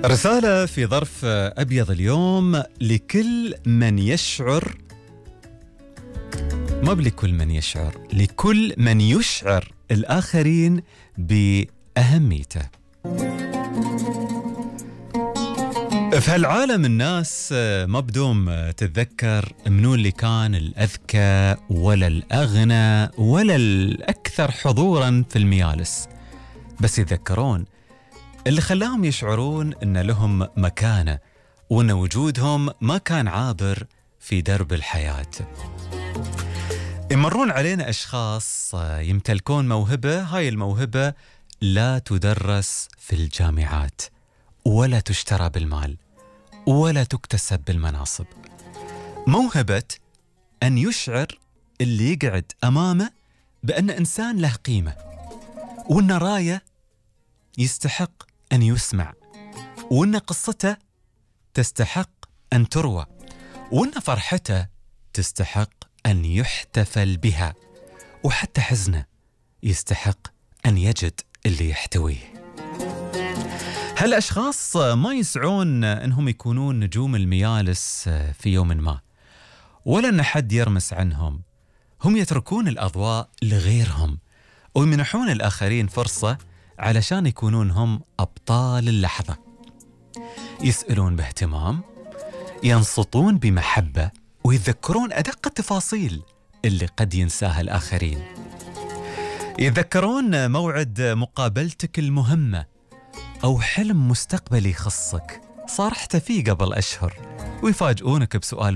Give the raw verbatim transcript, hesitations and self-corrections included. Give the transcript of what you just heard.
رسالة في ظرف أبيض اليوم لكل من يشعر، ما بلكل من يشعر، لكل من يشعر الآخرين بأهميته. في هالعالم الناس ما بدوم تتذكر منو اللي كان الأذكى ولا الأغنى ولا الأكثر حضورا في الميالس، بس يتذكرون اللي خلاهم يشعرون أن لهم مكانة وأن وجودهم ما كان عابر في درب الحياة. يمرون علينا أشخاص يمتلكون موهبة، هاي الموهبة لا تدرس في الجامعات ولا تشترى بالمال ولا تكتسب بالمناصب. موهبة أن يشعر اللي يقعد أمامه بأن إنسان له قيمة، وأن راية يستحق أن يسمع، وأن قصته تستحق أن تروى، وأن فرحته تستحق أن يحتفل بها، وحتى حزنه يستحق أن يجد اللي يحتويه. هالأشخاص ما يسعون أنهم يكونون نجوم الميالس في يوم ما، ولا أن حد يرمس عنهم. هم يتركون الأضواء لغيرهم ويمنحون الآخرين فرصة علشان يكونون هم أبطال اللحظة. يسألون باهتمام، ينصتون بمحبة، ويتذكرون أدق التفاصيل اللي قد ينساها الآخرين. يتذكرون موعد مقابلتك المهمة أو حلم مستقبلي يخصك صارحت فيه قبل أشهر، ويفاجئونك بسؤال